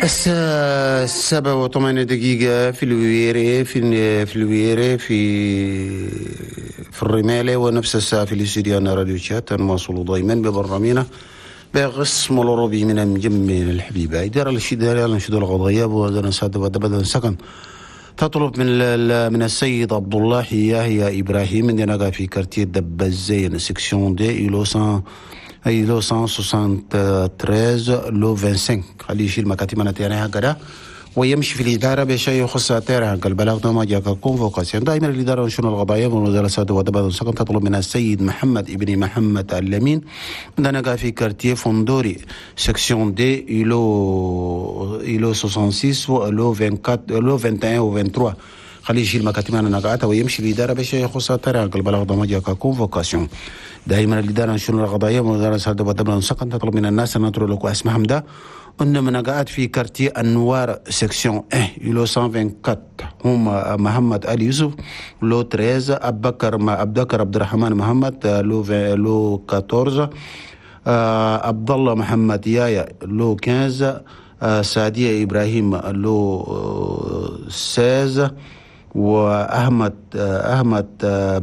الساعة 7:08 في الويري في الويري في الرمالة، ونفس الساعة في الاستديو راديو تشاد. نواصل دائما ببرنامجنا بقسم الأوروبي من المجمع الحبيبة. إدارة الإدارة الأنشطة القضائية وزارة بدل سكن تطلب من السيد عبد الله يحيى إبراهيم عندنا في quartier دب الزين section deux îlot 173 lot 25، خليه يشيل مكاتب انا هكذا ويمشي في الإدارة بشيء يخص تيرا البلاغ ما جاء convocation. دائما الإدارة والشؤون القضائية والوزارة السادة ودبل سكن تطلب من السيد محمد ابن محمد اللمين عندنا في quartier فندوري section deux îlot 66 lot 24 lot 21 و 23، خليه يشيل مكاتب انا نقعتها ويمشي الإدارة بشيء يخص تيرا البلاغ ما جاء convocation. دائما الإدارة والشؤون القضائية والوزارة السادة ودبل سكن تطلب من الناس أن نترك اسمهم ده أن من قاعد في quartier أنوار section 1 îlot 124، هم محمد علي يوسف lot 13، أبكر ما أبكر عبد الرحمن محمد lot 14، عبد الله محمد يايا lot 15، سعدية إبراهيم lot 16، وأحمد أحمد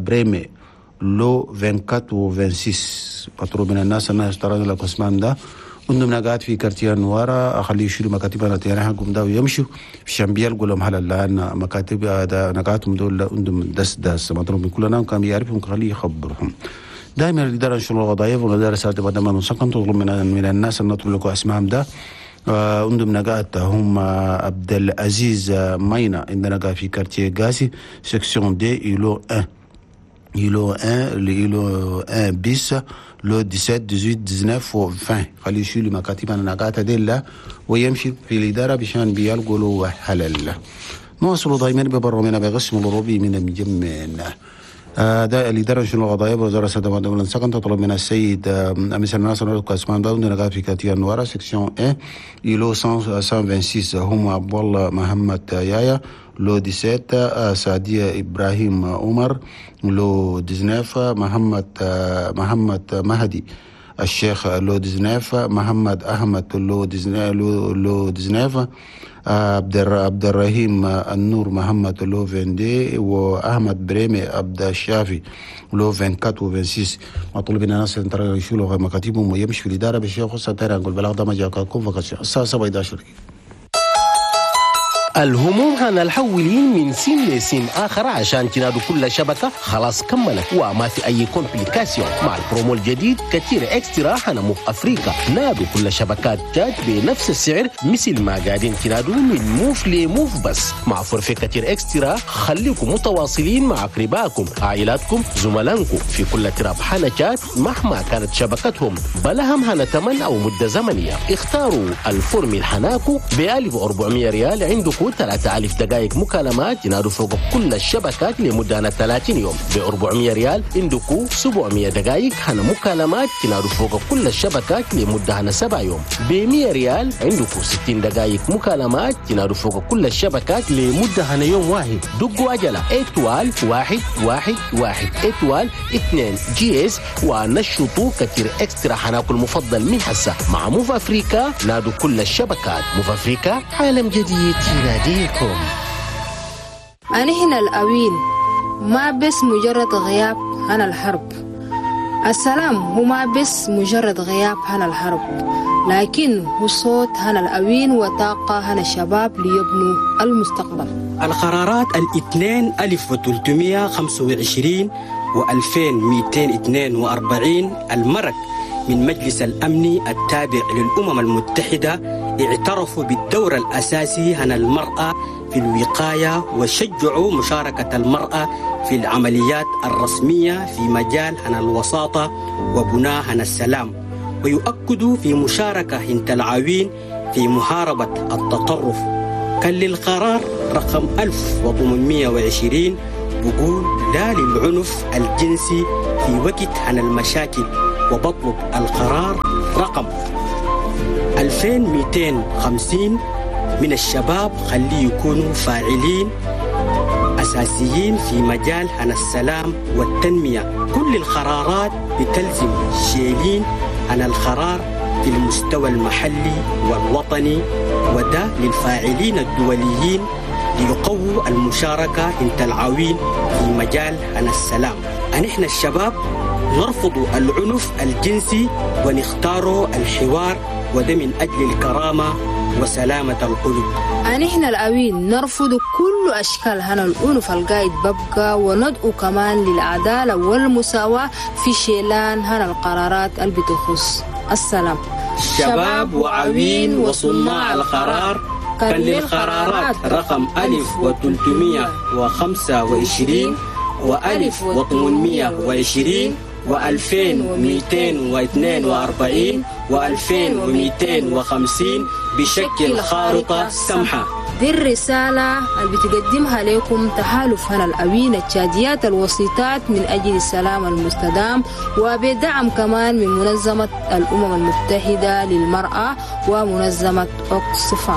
بريمي lot 24 و 26. مطلوب من الناس أن يشترون لك اسمان ده عندهم قاعد في quartier نوارا، اخليه يشيلوا مكاتب انا حقهم ده ويمشوا في شامبيال يقول لهم هلا الان مكاتب هذا نقاتهم دول عندهم دس دس. مطلوب من كلنا كان يعرفهم خليه يخبرهم. دائما الادارة الشؤون القضائية والادارة السادة بدل ما سكن تطلب من الناس ان نطلب اسمائهم ده عندهم نقات هم عبد العزيز ماينا عندنا قاعد في quartier غاسي section deux îlot 1 îlot 1 îlot 1 bis lot 17 18 19 و 20، خليه يشيلوا مكاتب انا نقاط ديلا ويمشي في الادارة بشان بيلقوا حلال. نواصل دائما ببرنامجنا بقسم الأوروبي من المجمع. ده الإدارة الشؤون القضائية وزارة السادة والدولة سكن تطلب من السيد مثل ناصر القاسمان داود نقاط في quartier نوارا section 1 îlot 126، هم عبد الله محمد يايا lot 17، سعدية إبراهيم عمر lot 19، محمد مهدي الشيخ lot 19، محمد أحمد lot 19 lot 19، عبد الرحيم النور محمد lot 22، واحمد بريمي عبد الشافي lot 24 و 26. مطلوب من الناس ان يشيلوا مكاتبهم ويمشي في الادارة بالشيخ خصوصا ترى نقول بلاغ ده ما جاء convocation. الساعة 7:11. الهموم هنا الحولين من سيم لسيم آخر عشان تنادوا كل شبكة خلاص كملت وما في أي complication. مع البرومو الجديد كتير Extra هنا موف أفريقيا، نادوا كل شبكات تشاد بنفس السعر مثل ما قاعدين تنادوا من موف لموف، بس مع forfait كتير Extra خليكم متواصلين مع أقربائكم، عائلاتكم، زملائكم في كل تراب حنا تشاد مهما كانت شبكتهم، بلا هم هنا تمن أو مدة زمنية. اختاروا ال formule حناكو ب 1400 ريال، عندكم 3000 دقائق مكالمات ينادوا فوق كل الشبكات لمدة 30 يوم. ب 400 ريال عندكم 700 دقائق هنا مكالمات تنادوا فوق كل الشبكات لمدة هنا 7 يوم. ب 100 ريال عندكم 60 دقائق مكالمات تنادوا فوق كل الشبكات لمدة هنا يوم واحد. دقوا عجلة étoile 1 1 1 étoile 2 dièse ونشطوا كتير Extra حناكل المفضل من حسة مع موف افريكا. نادوا كل الشبكات، موف افريكا عالم جديد يناديكم. أنا هنا الأوين ما بس مجرد غياب عن الحرب، السلام هو ما بس مجرد غياب عن الحرب، لكن هو صوت هنا الأوين وطاقة هنا الشباب ليبنوا المستقبل. القرارات الاثنين 1325 و2242 المرق من مجلس الأمن التابع للأمم المتحدة اعترفوا بالدور الأساسي هنا المرأة في الوقاية وشجعوا مشاركة المرأة في العمليات الرسمية في مجال هنا الوساطة وبناء هنا السلام، ويؤكدوا في مشاركة هنت العوين في محاربة التطرف. كان للقرار رقم 1820 بقول لا للعنف الجنسي في وقت عن المشاكل، وبطلب القرار رقم 2250 من الشباب خليه يكونوا فاعلين أساسيين في مجال عن السلام والتنمية. كل القرارات بتلزم شيلين عن القرار في المستوى المحلي والوطني. وده للفاعلين الدوليين ليقووا المشاركة انت العوين في مجال عن السلام. نحن الشباب نرفض العنف الجنسي ونختار الحوار، وده من أجل الكرامة وسلامة القلوب. نحن الأوين نرفض كل أشكال هنا العنف القايد ببقى، وندعو كمان للعدالة والمساواة في شيلان هنا القرارات اللي بتخص السلام. شباب وعوين وصناع القرار، كان للقرارات رقم 1325 و1820 و2242 و2250 بشكل خارطة سمحة. دي الرسالة اللي بتقدمها لكم تحالف هنا الأوين التشاديات الوسيطات من أجل السلام المستدام، وبدعم كمان من منظمة الأمم المتحدة للمرأة ومنظمة أوكسفام.